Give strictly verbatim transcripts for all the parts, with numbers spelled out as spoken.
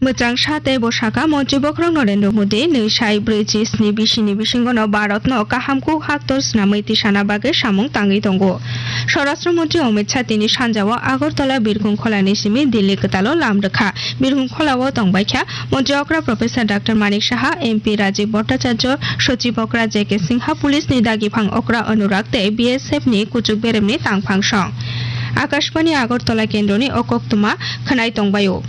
Mwchang sa tei bo saka, Montri bokhorok Narendra Modi nwi sai brwi chi sni bisini bisingono Bharatno kaham kuk haktor swnamwi tisana bagwi samung tangwi tongo. Swarashtra Montri Amit Shah tini sanjao Agartala Birkhung Kholani simi Delhi kwtalo lam rwkha. Birkhung Kholao tongbaikha Montri okra Professor Doctor Manik Saha, M P Rajiv Bhattacharya, Sochib okra J K Singha, Police ni dagiphang okra Anurag tei B S F ni kuchuk beremni tangphang song. Akashbani Agartala kendroni o koktwma khwnai tongbaio.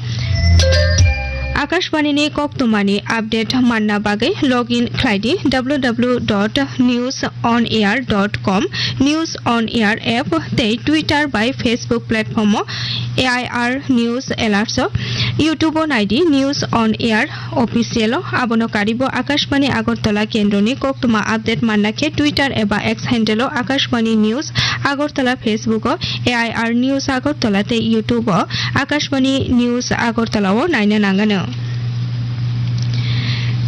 Akashbani ni koktwmani update manna bagwi login khlai di W W W dot news on air dot com, News on Air app tei Twitter bai Facebook platform o A I R News Alerts o, YouTube o nai di News on Air Official o. Abono karibo Akashbani Agartala kendroni koktwma update manna khe Twitter eba X handle o Akashbani News Agartala, Facebook o A I R News Agartala tei YouTube o Akashbani News Agartala o naina nangano.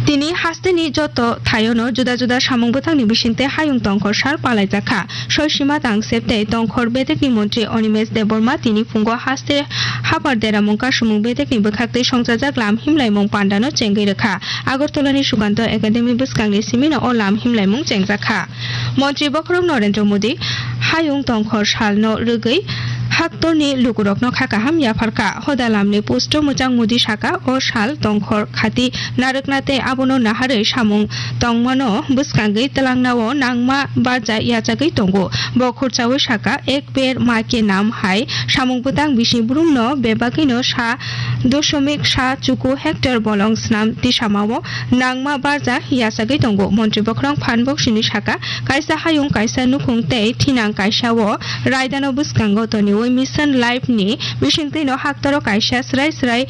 Tini hasteni joto thaiono juda juda samung bwthangni bisingtwi hayung tongkhor sal palaijakha. Soisima Tangsep tei tongkhor bedekni montri Animesh Debbarma tini phungo haste hapar deramung kasumung bedekni bwkhaktwi songchajak lam himlaimung pandano chengwi rwkha. Agartalani Sukanto Academy bwskangni simino o lam himlaimung chengjakha. Montri bokhorok Narendra Modi hayung tongkhor salno rwgwi haktorni lukurokno kha kaham yapharkha. Hoda lamni posto mwchang Modi saka, o sal tongkhor khati narwkna tei abono naharwi samung tongmano bwskangwi twlangnao nangma barja yachagwi tongo. Bo khurchaui saka, "Ek per maa ke naam" hai samung bwtang bisi brumno bebagwino sa dosomik sa chuku hectare bolong snam tisamao nangma barja yachagwi tongo. Montri bokhorok phan boksini saka, kaisa hayung, kaisa nukhung tei thinang kaisa o raidano bwskango toniwi Mission Life ni bisingtwino haktoro kaisa srai srai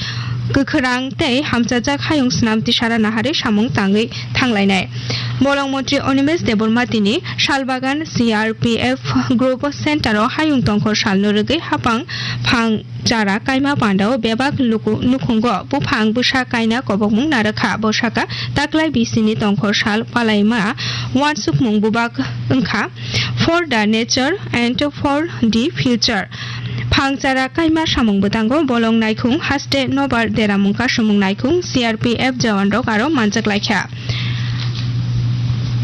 kwkhwrang tei hamchajak hayung snam tisara naharwi samung tangwi thanglainai. Bolong montri Animesh Debbarma tini Salbagan C R P F Group Center o hayung tongkhor salno rwgwi hapang phang chara kaima pandao bebak luku nukhungo buphang bwsa kaina kobokmung narwkha. Bo saka, taklai bisini tongkhor sal palaima uansukmung bubak wngkha, "For the nature and for the future." Phang chara kaima samung bwtango bolong naikhung haste nobar deramung kasumung naikhung C R P F jawan rok aro manjak laikha.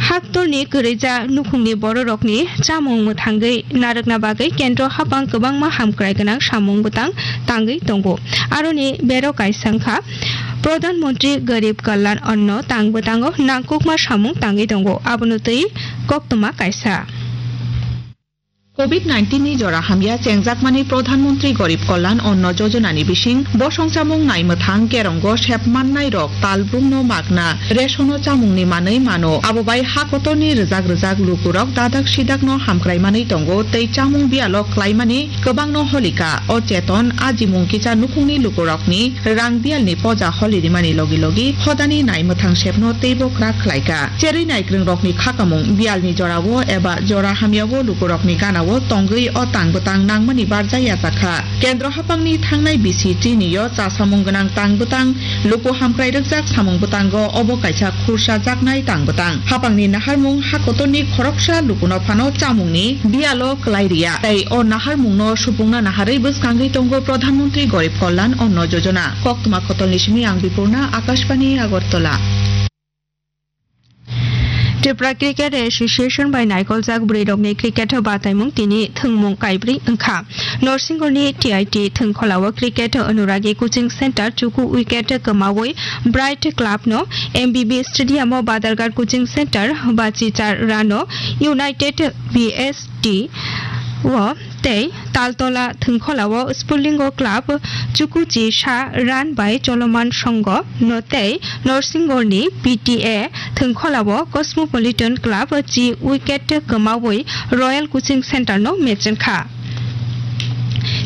Haktorni kwrwija nukhungni bororokni chamung mwthangwi narwkna bagwi kendro hapang kwbangma hamkrai gwnang samung bwtang tangwi tongo. Aroni bero kaisa wngkha Pradhan Mantri Garib Kalyan Anna tang bwtango nangkukma samung tangwi tongo. Abono twi koktwma kaisa. Covid nineteen ni jora hamya chengjakmani Pradhan Mantri Garib Kalyan Anna Yojana ni bising bosong chamung nai mwthang kerongo sep mannai rok tal brumno magna ration o chamung ni manwi mano. Abo bai ha kotor ni rwjak rwjak lukurok dadak sidak no hamkrai manwi tongo tei chamung biyalo klaimani kwbangno holika. O cheton ajimung kisa nukhungni lukurokni rang biyalni poja holi rimani logi logi hodani nai mwthang sepno teibo kwrak khlaika. Cherwi naikwrwngrokni khakamung biyalni jorao eba jora hamyao lukurokni ganao tongwi o tang bwtang nangmani barja yachakha. Kendro haphangni thangnai bisi tini o chasamung gwnang tang bwtang luku hamkrai rwkjak samung bwtango obo kaisa khursa jaknai tang bwtang. Haphangni naharmung ha kotorni khoroksa lukuno phano chamungni biyalo klai riya. Tei o naharmungno supungna naharwi bwskangwi tongo Pradhan Mantri Garib Kalyan Anna Yojana. Koktwma Kotolni simi ang Bipurna, Akashbani, Agartala. Tripura Cricket Association bai naikoljak bwrwirokni cricket bataimung tini thwngmung kaibrwi wngkha. Norsingorni T I T thwngkholao cricket Anuragi Coaching Center chuku wicket kwmawi Bright Club no M B B Stadium o Badharghat Coaching Center bachichar rano United B S T o tei Taltola thwngkholao Spurlingo Club chukuchi sa run bai choloman songo no tei Norsingorni P T A thwngkholao Cosmopolitan Club chi wicket kwmawi Royal Coaching Center no mechengkha.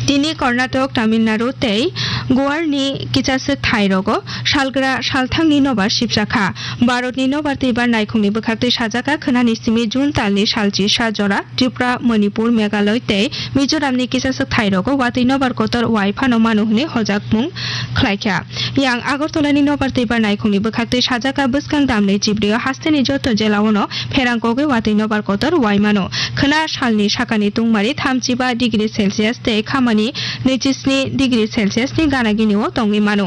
Tini Karnataka, Tamil Nadu tei Goarni kichaswk thairogo salgra salthangni nobar sibjakha. Bharatni nobar twibar naikhungni bwkhaktwi sajaka khwnani simi June talni salchi sa jora Tripura, Manipur, Meghalaya tei Mizoramni kichaswk thairogo watwi nobar kotor wai phano mano hwnwi hojakmung khlaikha. Yang Agartalani nobar twibar naikhungni bwkhaktwi sajaka bwskang damni chibrio hasteni joto jelaono pherang kogwi watwi nobar kotor wai mano. Khwna salni sakani tungmari thamchiba degree Celsius tei khamani nwichi sni degree Celsius ni gana gini o tongwi mano.